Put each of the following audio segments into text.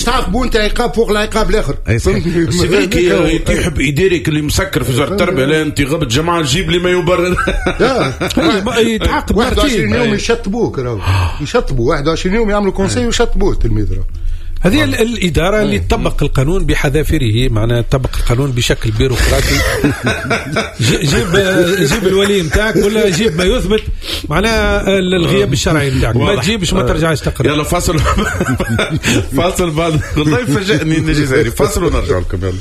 تعاقبوا انت عقاب فوق العقاب الاخر. c'est vrai كي يحب اداري اللي مسكر في وزارة التربية، لا انت غبت جماعة جيب لي ما يبرر. يتعاقب 21 يوم يشطبوك، راهو يشطبوا 21 يوم يعملوا conseil ويشطبوه التلميذ. هذه الإدارة اللي تطبق القانون بحذافيره، معناها تطبق القانون بشكل بيروقراطي. جيب الولي نتاعك ولا جيب ما يثبت معناها الغياب الشرعي نتاعك، ما تجيبش ما ترجعش تقرا. يلا فاصل فاصل بعد، والله فاجأني الجزائري. فاصل ونرجع لكم. يلا.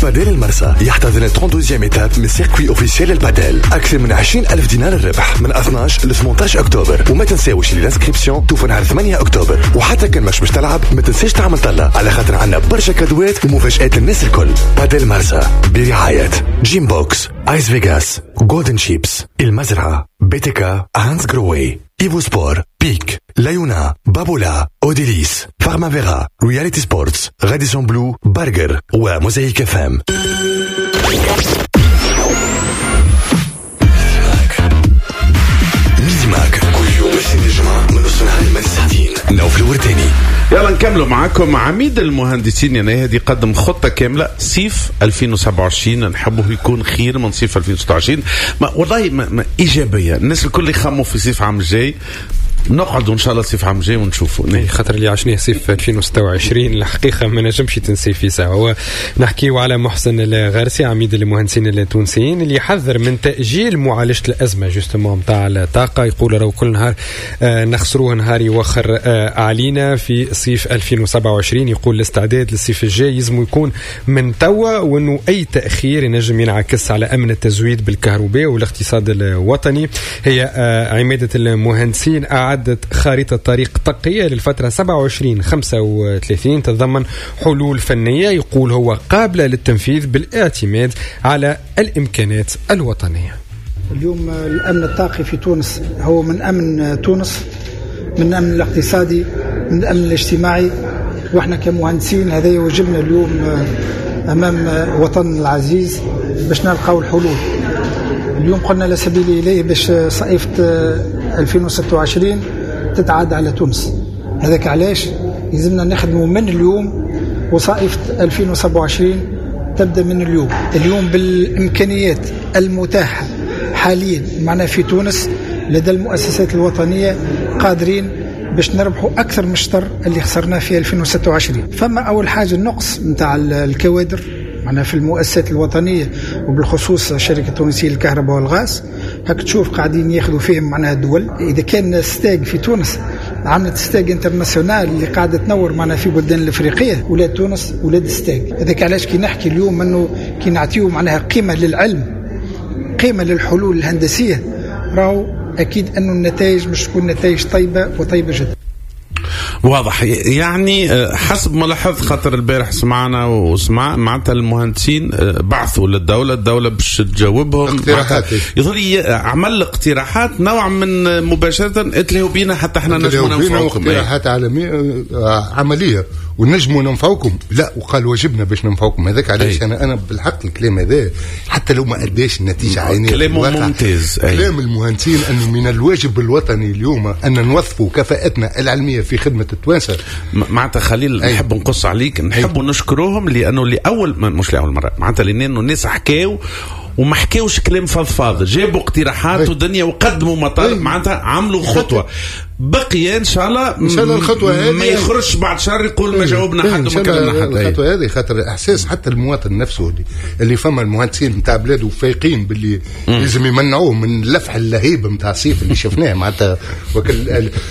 بادل المرسى يحتضن 32 étape من circuit officiel البادل، اكثر من 20,000 دينار الربح من 12 ل 18 اكتوبر. وما تنساوش اللي l'inscription توفى نهار 8 اكتوبر، وحتى كان مش باش تلعب ما تنساش تعمل طلة على خاطر عندنا برشا كادوات ومفاجآت للناس الكل. بادل المرسى برعاية جيم بوكس، ايس فيغاس، جولدن شيبس، المزرعة، بيتيكا، هانس جروي، ايفو سبور، بيك، لايونا، بابولا، اوديليس، فارمافيرا، رياليتي سبورتس، راديسون بلو، برجر، وموزايك اف ام. ميديماك كل يوم الاثنين الجمعة من نص نهار لمدة ساعتين. نوفل الورتاني. يلا نكملوا معاكم. عميد المهندسين يا ناهد يقدم خطة كاملة صيف 2027 نحبه يكون خير من صيف 2026. ما والله ما إيجابية، الناس الكل يخموا في صيف عام الجاي. نقعدوا ان شاء الله صيف عام الجاي ونشوفوا. خاطر اللي عشناه صيف 2026 الحقيقة ما نجمش تنسي في ساعة. هو نحكيو على محسن الغارسي عميد المهندسين التونسيين اللي حذر من تاجيل معالجة الازمة justement نتاع الطاقة. يقول راهو كل نهار نخسروه نهار يوخر علينا في صيف 2027. يقول الاستعداد للصيف الجاي يلزم يكون من توا، وانه اي تاخير ينجم ينعكس على امن التزويد بالكهرباء والاقتصاد الوطني. هي عماده المهندسين أعدت خارطة طريق طاقية للفترة 27-35 تتضمن حلول فنية يقول هو قابلة للتنفيذ بالاعتماد على الإمكانات الوطنية. اليوم الأمن الطاقي في تونس هو من أمن تونس، من الأمن الاقتصادي، من الأمن الاجتماعي، وإحنا كمهندسين هذا يوجبنا اليوم أمام وطننا العزيز باش نلقاو الحلول. اليوم قلنا لا سبيل إليه باش صيفة 2026 تتعاد على تونس. هذاك علاش يلزمنا نخدموا من اليوم، وصائفة 2027 تبدأ من اليوم. اليوم بالإمكانيات المتاحة حاليا معنا في تونس لدى المؤسسات الوطنية قادرين باش نربحوا أكثر من الشطر اللي خسرناه في 2026. فما أول حاجة النقص نتاع الكوادر معنا في المؤسسات الوطنية، وبالخصوص الشركة التونسية للكهرباء والغاز. هاك تشوف قاعدين ياخذوا فيهم معناها الدول. إذا كان STEG في تونس عملت STEG internationale اللي قاعدة تنور معنا في بلدان الأفريقية، ولاد تونس ولاد STEG. هذاك علاش كي نحكي اليوم أنه كي نعطيو معناها قيمة للعلم، قيمة للحلول الهندسية، راهو أكيد أنه النتائج مش تكون نتائج طيبة وطيبة جدا. واضح يعني حسب ما لاحظت، خاطر البارح سمعنا وسمع معناتها المهندسين بعثوا للدولة، الدولة باش تجاوبهم اقتراحات. يظل عمل اقتراحات نوع من مباشرة اتلهوا بينا حتى احنا نجموا ننفعوكم. اقتراحات عالمية عملية ونجموا ننفعوكم. لا، وقال واجبنا باش ننفعوكم. هذاك علاش انا بالحق الكلام هذا حتى لو ما اداش النتيجة عينيه كلام ممتاز. كلام المهندسين انه من الواجب الوطني اليوم ان نوظفوا كفاءتنا العلمية في خدمة التوانسة. معناتها خليل نحب نقص عليك، نحب نشكرهم لانه لاول مش لاول مرة معناتها لانه الناس حكاو وما حكاوش كلام فضفاض، جابوا اقتراحات ودنيا وقدموا مطالب، معناتها عملوا خطوة. بقي ان شاء الله ان شاء الله الخطوة هذه ما يخرجش بعد شهر يقول ما جاوبنا حد وما كلمنا حد. الخطوة هذه خاطر احساس حتى المواطن نفسه اللي فما المهندسين نتاع بلاده فايقين باللي لازم يمنعوه من اللفح اللهيب نتاع الصيف اللي شفناه معناتها،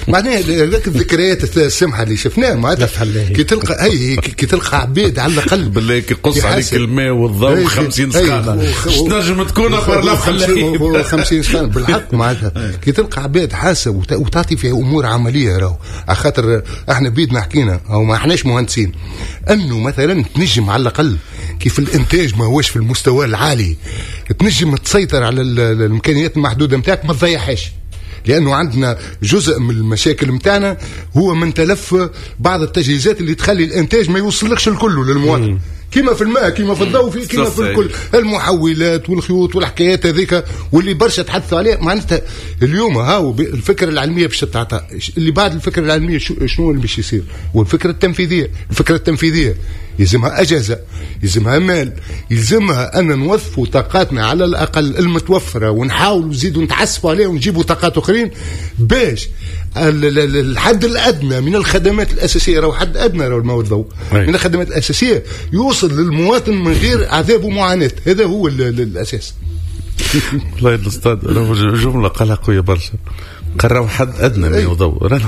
معناها هذاك الذكريات السمحة اللي شفناه معناتها كي تلقى كي تلقى عبيد على الاقل بالله كي يقص عليك الماء والضوء 50 سخانه تنجم تكون اخر لفح اللهيب 50 سخانه بالحق معناتها. كي تلقى عباد حاسه وتعطي فيها امور عملية، راهو على خاطر احنا بيدنا حكينا او ما احناش مهندسين انه مثلا تنجم على الاقل كيف الانتاج ما هوش في المستوى العالي تنجم تسيطر على الامكانيات المحدودة نتاعك ما تضيعهاش، لانه عندنا جزء من المشاكل نتاعنا هو من تلف بعض التجهيزات اللي تخلي الانتاج ما يوصلكش الكل للمواطن. كيما في الماء كيما في الضوء كيما في الكل، المحولات والخيوط والحكايات هذيك واللي برشا تحدثوا عليها. معناتها اليوم هاو الفكرة العلمية باش تتعطى، اللي بعد الفكرة العلمية شنو اللي باش يصير؟ والفكرة التنفيذية، الفكرة التنفيذية يلزمها اجهزة، يلزمها مال، يلزمها ان نوظفوا طاقاتنا على الاقل المتوفرة ونحاولوا نزيدوا نتعسفوا عليها ونجيبوا طاقات اخرين باش الحد الادنى من الخدمات الاساسية، راهو حد ادنى راهو الماء والضوء، من الخدمات الاساسية يوصل للمواطن من غير عذاب ومعاناة. هذا هو الاساس. والله الاستاذ جملة قالها قوية برشا، قراو حد ادنى ماء وضوء.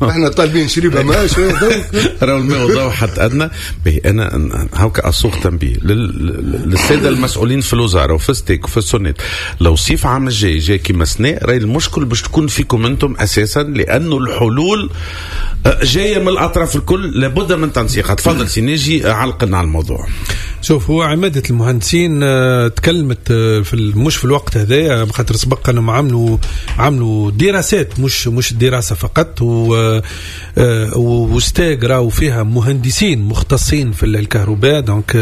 احنا طالبين شريبه ماء شوية ضوء، راهو الماء والضوء حد ادنى. باهي انا هاكا اسوق تنبيه للسادة المسؤولين في الوزارة وفي STEG وفي السوناد، لو صيف عام الجاي جاي كيما سنة راهي المشكل باش تكون فيكم انتم اساسا، لانه الحلول جاية من الاطراف الكل، لابد من تنسيقها. تفضل سي ناجي علقنا على الموضوع. شوف، هو عمادة المهندسين تكلمت في مش في الوقت هذايا، خاطر سبق انهم عملوا دراسات، مش الدراسة فقط، و STEG راهو فيها مهندسين مختصين في الكهرباء. donc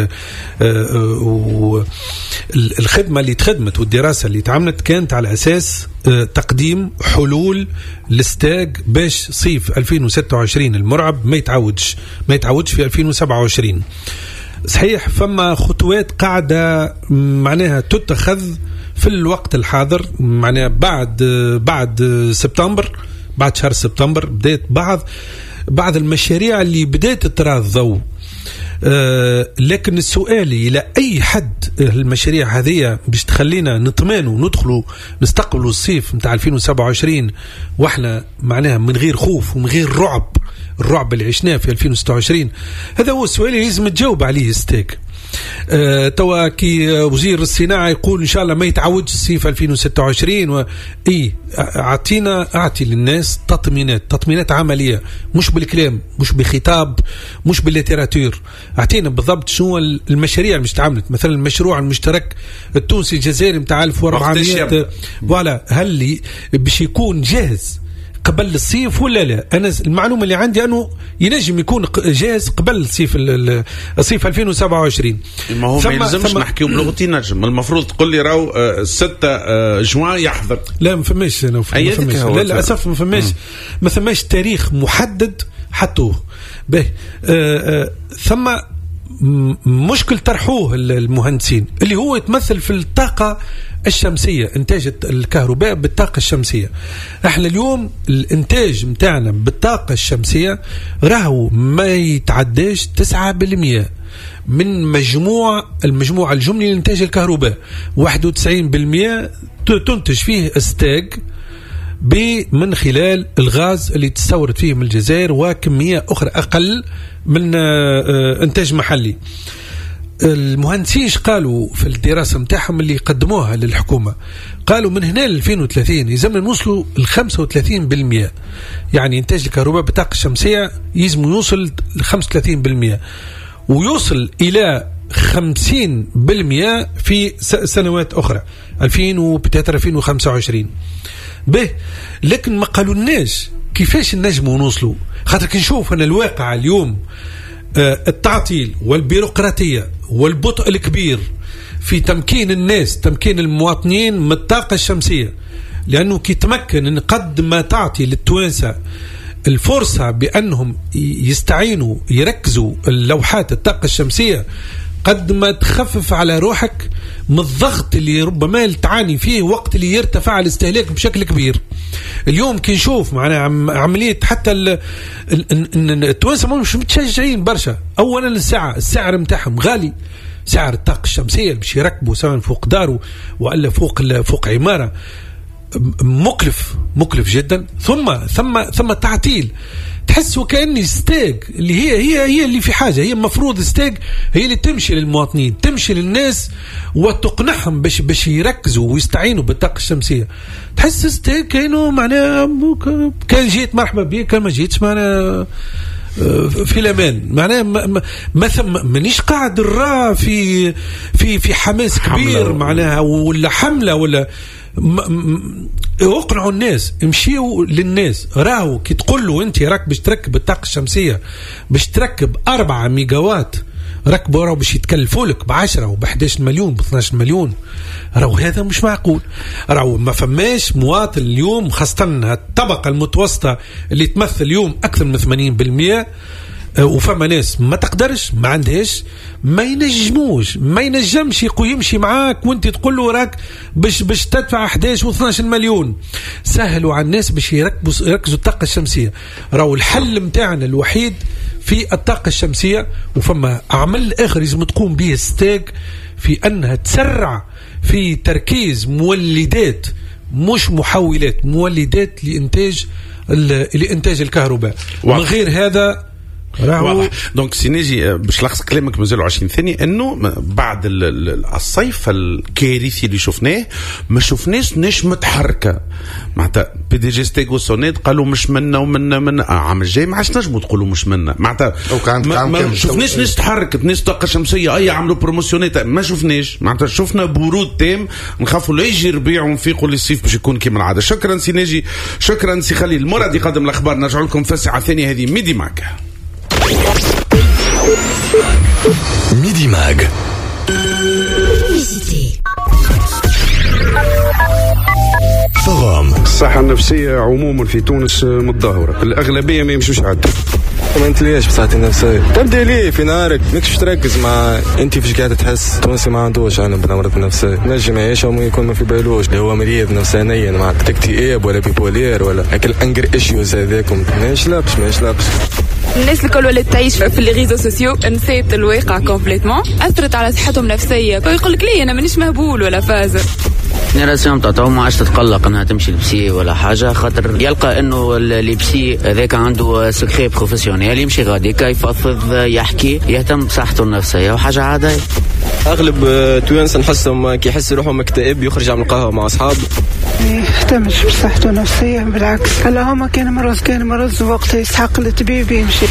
الخدمة اللي تخدمت والدراسة اللي تعملت كانت على أساس تقديم حلول لل STEG باش صيف 2026 المرعب ما يتعودش في 2027. صحيح فما خطوات قاعدة معناها تتخذ في الوقت الحاضر، معناها بعد سبتمبر، بعد شهر سبتمبر بدأت بعض المشاريع اللي بدأت ترى الضوء. لكن السؤال إلى أي حد المشاريع هذه باش تخلينا نطمئنوا وندخلوا نستقبلوا الصيف متاع 2027 واحنا معناها من غير خوف ومن غير رعب، الرعب اللي عشناه في 2026. هذا هو السؤال اللي لازم تجاوب عليه STEG. توا كي وزير الصناعة يقول إن شاء الله ما يتعودش الصيف 2026 إيه، أعطي للناس تطمينات عملية، مش بالكلام، مش بخطاب، مش بال littérature. أعطينا بالضبط شنو المشاريع اللي مش تعملت، مثلا المشروع المشترك التونسي الجزائري متاع 1400 voilà، هل باش يكون جاهز قبل الصيف ولا لا؟ انا المعلومة اللي عندي انه ينجم يكون جاهز قبل الصيف 2027. ما هو ما يلزمش نحكيو بلغتي نجم، المفروض تقول لي راهو 6 جوان يحضر. لا ما فماش، للاسف ما فماش تاريخ محدد حطوه به. ثم مشكل طرحوه المهندسين اللي هو يتمثل في الطاقة الشمسية، إنتاج الكهرباء بالطاقة الشمسية. احنا اليوم الإنتاج متاعنا بالطاقة الشمسية راهو ما يتعداش 9% من المجموع الجملي لإنتاج الكهرباء، 91% تنتج فيه STEG من خلال الغاز اللي تستورد فيه من الجزائر، وكمية أخرى أقل من إنتاج محلي. المهندسين قالوا في الدراسة متاعهم اللي قدموها للحكومة، قالوا من هنا ل 2030 يلزمنا نوصلوا ل 35%، يعني إنتاج الكهرباء بالطاقة الشمسية يلزم يوصل ل 35% ويوصل إلى 50% في سنوات أخرى 2025. به، لكن ما قالولناش كيفاش نجموا نوصلوا، خاطر كي نشوف أنا الواقع اليوم التعطيل والبيروقراطية والبطء الكبير في تمكين الناس، تمكين المواطنين من الطاقة الشمسية، لأنه كي تمكن إن قد ما تعطي للتوانسة الفرصة بأنهم يستعينوا يركزوا اللوحات الطاقة الشمسية، قد ما تخفف على روحك من الضغط اللي ربما تعاني فيه وقت اللي يرتفع الاستهلاك بشكل كبير. اليوم كي نشوف معنا عملية حتى التوانسة مش متشجعين برشا. أولا السعر متاعهم غالي، سعر الطاقة الشمسية باش يركبوا سواء فوق داره ولا فوق عمارة مكلف جدا. ثم تعطيل، تحس وكأن STEG اللي هي اللي في حاجة، هي المفروض STEG هي اللي تمشي للمواطنين، تمشي للناس وتقنعهم باش يركزوا ويستعينوا بالطاقة الشمسية. تحس STEG كأنه معناها كان جيت مرحبا بك، كان ما جيتش معناها في الامان، معناها ما ثم مانيش قاعد نرى في في في حماس كبير معناها ولا حملة ولا اقنعوا الناس، امشيوا للناس. راهو كي تقول له انت راك باش تركب الطاقة الشمسية باش تركب 4 ميجاوات ركبوا راهو باش يتكلفوا لك ب 10 وب 11 مليون ب 12 مليون، راهو هذا مش معقول. راهو ما فماش مواطن اليوم، خاصة الطبقة المتوسطة اللي تمثل اليوم أكثر من 80%، وفما ناس ما تقدرش، ما عندهاش، ما ينجموش، ما ينجمش يمشي معاك وانت تقول له راك باش تدفع 11 و 12 مليون. سهلوا على الناس باش يركزوا الطاقة الشمسية. راهو الحل متاعنا الوحيد في الطاقة الشمسية، وفما عمل آخر لازم تقوم به ستاج في أنها تسرع في تركيز مولدات، مش محولات، مولدات لإنتاج الكهرباء. من غير هذا واضح. donc سي ناجي باش لخص كلامك مازالوا 20 ثانية، انه بعد الصيف الكارثي اللي شفناه ما شفناش ناش متحركة، معناتها PDG STEG و SONEDE قالوا مش منا ومنا من عام الجاي ما عادش نجموا تقولوا مش منا، معناتها ما شفناش ناس تحركت، ناس طاقة شمسية اي عملوا promotion ات، ما شفناش، معناتها شفنا برود تام، نخافوا لا يجي ربيع ونفيقوا للصيف باش يكون كيما العادة. شكرا سي ناجي، شكرا سي خليل المراد يقدم الاخبار. نرجع لكم في الساعة الثانية هذه Midi Mag. Midi Mag. Forum. الصحة النفسية عموما في تونس متدهورة، الأغلبية ما يمشوش عاد. ما نتليش بصحتي النفسية، تبدا ليه في نهارك ماكش تركز مع انت فاش قاعد تحس. تونسي ما عندوش انا بالامراض النفسية، نجم يعيش وما يكون ما في بالوش اللي هو مريض نفسانيا مع اكتئاب ولا bipolaire ولا هاك ال anger issues هذاكم، ماهيش لابس ماهيش لابس. الناس الكل ولات تعيش في les réseaux sociaux، نسيت الواقع complètement، اثرت على صحتهم النفسية، فيقول لك ليه انا مانيش مهبول ولا فازر. génération تاع تو ما عادش تتقلق انها تمشي ل psy ولا حاجة، خاطر يلقى انه ال psy هذاك عنده secret professionnel، يمشي غادي يفضفض، يحكي، يهتم بصحته النفسية وحاجه عادية. اغلب توانسة نحسهم كي يحس روحهم مكتئب يخرج يعمل قهوة مع اصحابه. ما يهتمش بصحته النفسية، بالعكس اللهم كان مرض كان مرض وقت يستحق الطبيب يمشي.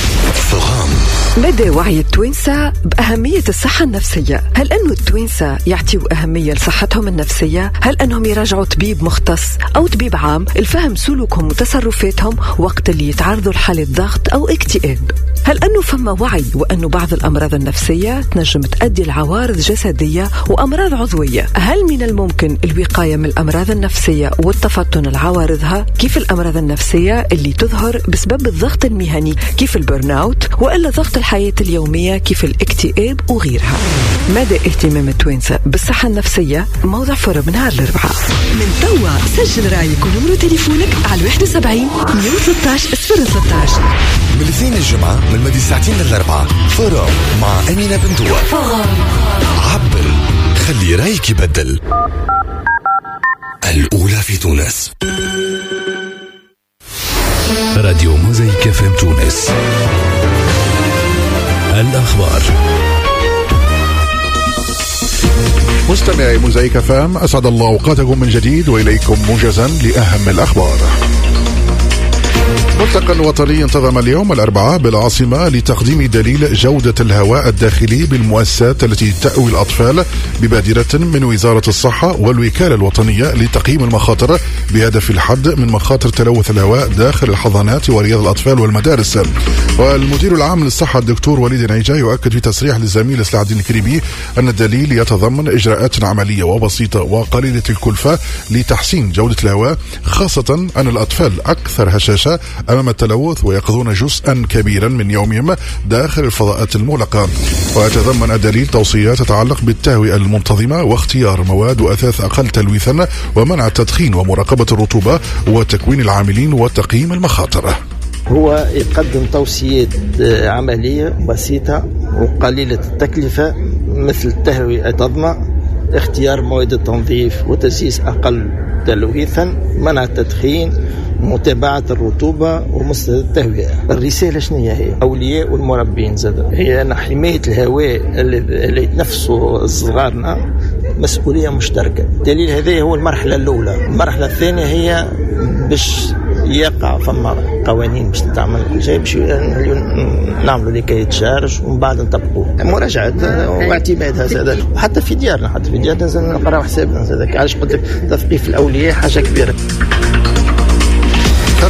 مدى وعي التوانسة بأهمية الصحة النفسية؟ هل أنه التوانسة يعطيوا أهمية لصحتهم النفسية؟ هل أنهم يراجعوا طبيب مختص أو طبيب عام الفهم سلوكهم وتصرفاتهم وقت اللي يتعرضوا لحالة ضغط أو اكتئاب؟ هل أنه فما وعي وأنه بعض الأمراض النفسية تنجم تؤدي لعوارض جسدية وأمراض عضوية؟ هل من الممكن الوقاية من الأمراض النفسية والتفطن لعوارضها، كيف الأمراض النفسية اللي تظهر بسبب الضغط المهني كيف ال burn-out، وإلا ضغط الحياة اليومية كيف الاكتئاب وغيرها؟ مدى اهتمام التوانسة بالصحة النفسية؟ موضوع forum نهار الأربعاء. من توا سجل رأيك ونمرو تليفونك على 71 113 013. من الاثنين الجمعة من مدي ساعتين للأربعة forum مع أمينة بندوة. عبر، خلي رأيك يبدل. الأولى في تونس. راديو موزايك FM تونس. الأخبار. مستمعي موزايك FM، أسعد الله أوقاتكم من جديد وإليكم موجزا لأهم الأخبار. ملتقى وطني انتظم اليوم الأربعاء بالعاصمة لتقديم دليل جودة الهواء الداخلي بالمؤسسات التي تأوي الأطفال ببادرة من وزارة الصحة والوكالة الوطنية لتقييم المخاطر بهدف الحد من مخاطر تلوث الهواء داخل الحضانات ورياض الأطفال والمدارس. والمدير العام للصحة الدكتور وليد نعيجة يؤكد في تصريح للزميل سلاح الدين الكريمي أن الدليل يتضمن إجراءات عملية وبسيطة وقليلة الكلفة لتحسين جودة الهواء، خاصة أن الأطفال أكثر هشاشة أمام التلوث ويقضون جزءا كبيرا من يومهم داخل الفضاءات المغلقة. ويتضمن الدليل توصيات تتعلق بالتهوئة المنتظمة واختيار مواد وأثاث أقل تلويثا ومنع التدخين ومراقبة الرطوبة وتكوين العاملين وتقييم المخاطر. هو يقدم توصيات عملية بسيطة وقليلة التكلفة مثل التهوئة المنتظمة، اختيار مواد التنظيف وتسييس أقل تلويثا، منع التدخين، متابعة الرطوبة ومستوى التهوية. الرسالة شنو هي؟ أولياء والمربين زاد هي أن حماية الهواء اللي يتنفسوا صغارنا مسؤولية مشتركة. الدليل هذا هو المرحلة الأولى. المرحلة الثانية هي باش يقع فما قوانين باش تعمل كل شيء باش نعملوا les cahiers des charges ومن بعد نطبقوه، مراجعة واعتمادها زاد. وحتى في ديارنا، حتى في ديارنا لازم نقراو حسابنا زاد. علاش قلت لك تثقيف الأولياء حاجة كبيرة.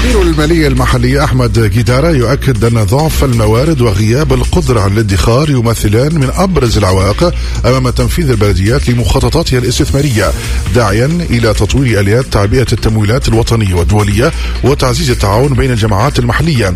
خبير المالية المحلية أحمد جدارة يؤكد أن ضعف الموارد وغياب القدرة على الادخار يمثلان من أبرز العوائق أمام تنفيذ البلديات لمخططاتها الاستثمارية، داعيا إلى تطوير آليات تعبئة التمويلات الوطنية والدولية وتعزيز التعاون بين الجماعات المحلية.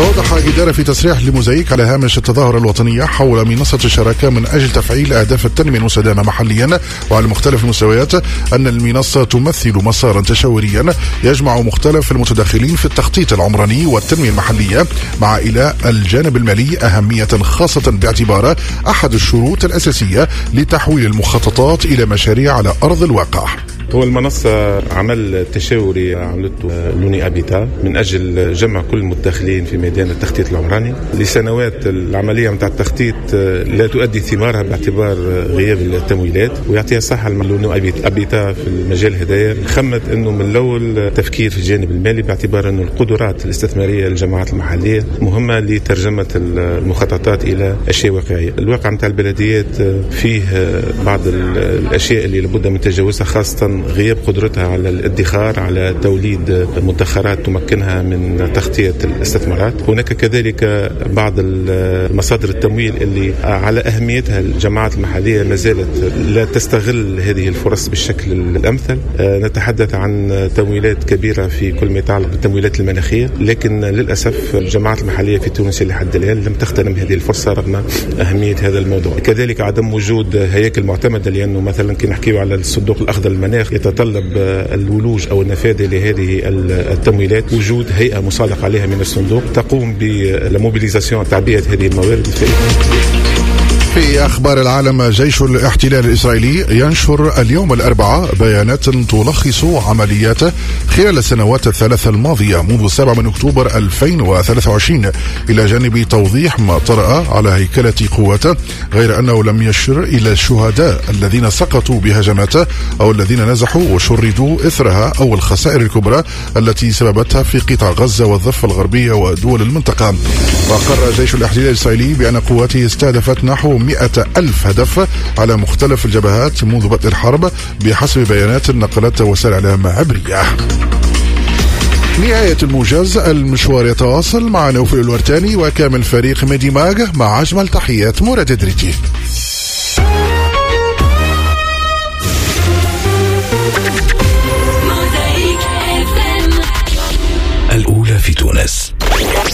أوضح جدارة في تصريح لموزايك على هامش التظاهرة الوطنية حول منصة الشراكة من أجل تفعيل أهداف التنمية المستدامة محليا وعلى مختلف المستويات أن المنصة تمثل مسارا تشاوريا يجمع مختلف المتدخلين في التخطيط العمراني والتنمية المحلية، مع إلى الجانب المالي أهمية خاصة باعتباره أحد الشروط الأساسية لتحويل المخططات إلى مشاريع على أرض الواقع. هو المنصة عمل تشاوري عملته l'ONU Habitat من أجل جمع كل المتدخلين في ميدان التخطيط العمراني. لسنوات العملية متاع التخطيط لا تؤدي ثمارها باعتبار غياب التمويلات، ويعطيها صحة l'ONU Habitat في المجال هدايا خمت أنه من الأول تفكير في الجانب المالي باعتبار أنه القدرات الاستثمارية للجماعات المحلية مهمة لترجمة المخططات إلى أشياء واقعية. الواقع متاع البلديات فيه بعض الأشياء اللي لابد من تجاوزها، خاصة غياب قدرتها على الادخار، على توليد مدخرات تمكنها من تغطية الاستثمارات. هناك كذلك بعض مصادر التمويل اللي على أهميتها الجماعات المحلية ما زالت لا تستغل هذه الفرص بالشكل الأمثل. نتحدث عن تمويلات كبيرة في كل ما يتعلق بالتمويلات المناخية، لكن للأسف الجماعات المحلية في تونس لحد الآن لم تغتنم هذه الفرصة رغم أهمية هذا الموضوع. كذلك عدم وجود هياكل معتمدة، لأنه مثلا كي نحكيو على الصندوق الأخضر للمناخ يتطلب الولوج أو النفاذ لهذه التمويلات وجود هيئة مصادق عليها من الصندوق تقوم بال mobilisation تعبئة هذه الموارد. في أخبار العالم، جيش الاحتلال الإسرائيلي ينشر اليوم الأربعاء بيانات تلخص عملياته خلال السنوات الثلاث الماضية منذ 7 من أكتوبر 2023، إلى جانب توضيح ما طرأ على هيكلة قواته، غير أنه لم يشر إلى الشهداء الذين سقطوا بهجماته أو الذين نزحوا وشردوا إثرها أو الخسائر الكبرى التي سببتها في قطاع غزة والضفة الغربية ودول المنطقة. وقر جيش الاحتلال الإسرائيلي بأن قواته استهدفت نحو 100,000 هدف على مختلف الجبهات منذ بدء الحرب بحسب بيانات نقلتها وسائل إعلام عبرية. نهاية الموجز، المشوار يتواصل مع نوفل الورتاني وكامل فريق ميدي ماغ، مع أجمل تحيات مراد دريتي.